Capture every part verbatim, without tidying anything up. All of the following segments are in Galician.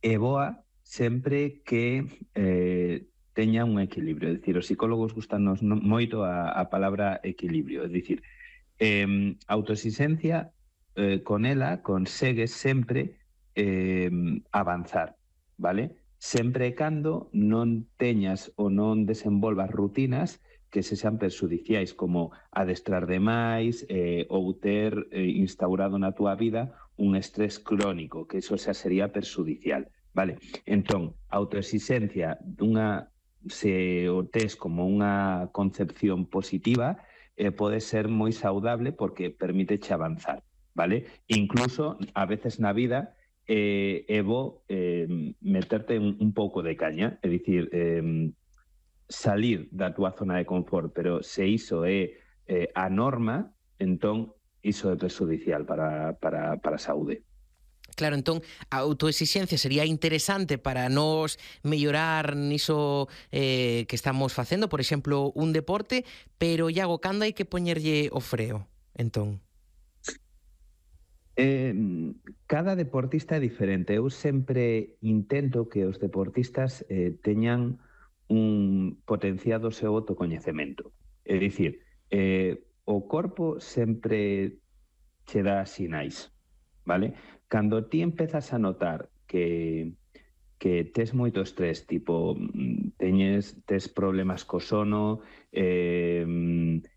é boa sempre que eh, teña un equilibrio. É dicir, os psicólogos gustanos moito a, a palabra equilibrio. É dicir, eh, autoexigencia, eh, con ela consegues sempre eh, avanzar, vale? Sempre e cando non teñas ou non desenvolvas rutinas que se sean perxudiciais, como adestrar demais eh, ou ter eh, instaurado na túa vida un estrés crónico, que iso xa sería perxudicial, vale? Entón, autoexigencia dunha, se o tes como unha concepción positiva, eh, pode ser moi saudable porque permíteche avanzar, vale? Incluso, a veces na vida, eh, é bo eh, meterte un, un pouco de caña, é dicir, eh, salir da túa zona de confort, pero se iso é eh, a norma, entón iso é perjudicial para, para, para a saúde. Claro, entón, a autoexixencia sería interesante para nos mellorar niso eh, que estamos facendo, por exemplo, un deporte, pero, Iago, cando hai que poñerlle o freo, entón? Eh, cada deportista é diferente. Eu sempre intento que os deportistas eh, teñan un potenciado seu autocoñecemento. É dicir, eh, o corpo sempre che dá sinais, vale? Cando ti empezas a notar que que tes moito estrés, tipo, teñes, tes problemas co sono, eh,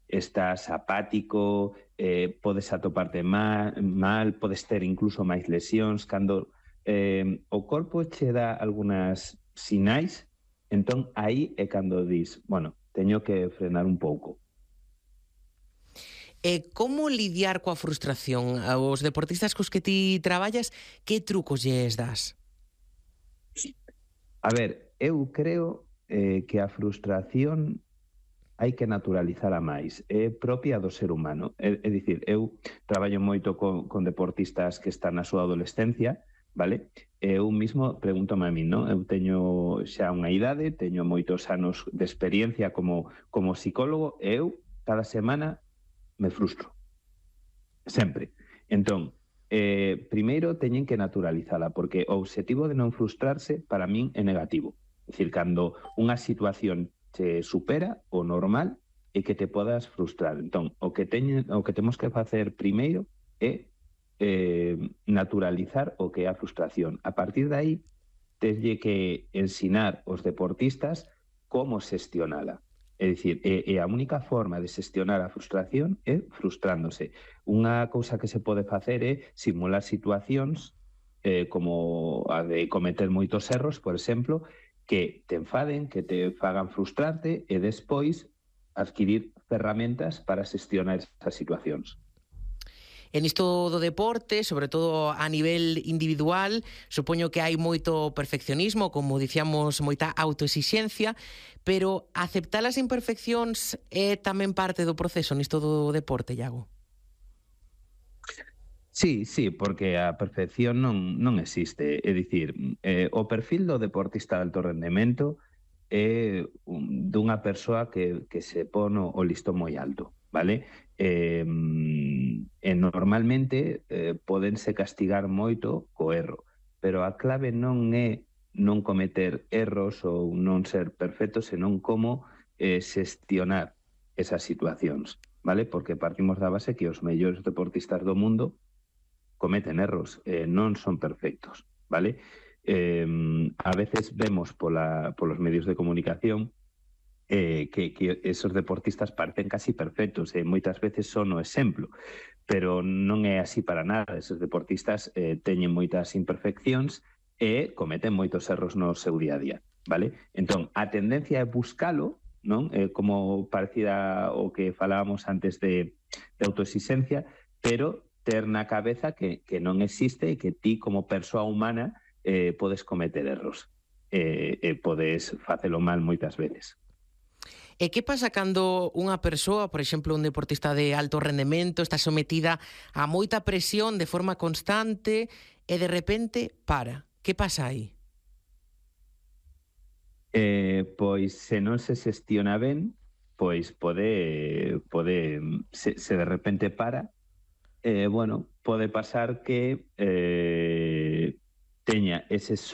estás apático, eh, podes atoparte mal, mal, podes ter incluso máis lesións, cando eh, o corpo che dá algunhas sinais, entón aí é cando dis, bueno, teño que frenar un pouco. E como lidiar coa frustración? Aos deportistas cos que ti traballas, que trucos lles das? A ver, eu creo eh, que a frustración hai que naturalizala máis, é propia do ser humano. É, é dicir, eu traballo moito con, con deportistas que están na súa adolescencia, vale? Eu mismo pregúntome a mí, non? Eu teño xa unha idade, teño moitos anos de experiencia como, como psicólogo, e eu cada semana me frustro. Sempre. Entón, eh, primeiro teñen que naturalizala, porque o obxectivo de non frustrarse para min é negativo. É dicir, cando unha situación te supera, o normal é que te podas frustrar. Entón, o que, teñe, o que temos que facer primeiro é eh, naturalizar o que é a frustración. A partir de aí, teslle que ensinar os deportistas como xestionala. É dicir, é, é a única forma de xestionar a frustración é frustrándose. Unha cousa que se pode facer é simular situacións eh, como a de cometer moitos erros, por exemplo, que te enfaden, que te fagan frustrarte e despois adquirir ferramentas para xestionar esas situacións. En isto do deporte, sobre todo a nivel individual, supoño que hai moito perfeccionismo, como dicíamos, moita autoexixencia, pero aceptar as imperfeccións é tamén parte do proceso nisto do deporte, Iago? Sí, sí, porque a perfección non, non existe. É dicir, eh, o perfil do deportista de alto rendemento é un, dunha persoa que, que se pon o listón moi alto, vale? Eh, e normalmente eh, podense castigar moito co erro, pero a clave non é non cometer erros ou non ser perfecto, senón como eh, xestionar esas situacións, vale? Porque partimos da base que os mellores deportistas do mundo cometen erros, eh, non son perfectos, vale? Eh, a veces vemos pola, polos medios de comunicación eh, que, que esos deportistas parecen casi perfectos e eh, moitas veces son o exemplo, pero non é así para nada. Esos deportistas eh, teñen moitas imperfeccións e cometen moitos erros no seu día a día, vale? Entón, a tendencia é buscalo, non? Eh, como parecida o que falábamos antes de, de autoexigencia, pero ter na cabeza que, que non existe e que ti como persoa humana eh, podes cometer erros e eh, eh, podes facelo mal moitas veces. E que pasa cando unha persoa, por exemplo, un deportista de alto rendemento, está sometida a moita presión de forma constante e de repente para? Que pasa aí? Eh, pois se non se xestiona ben, pois pode, pode se, se de repente para, eh, bueno, pode pasar que eh, teña ese shock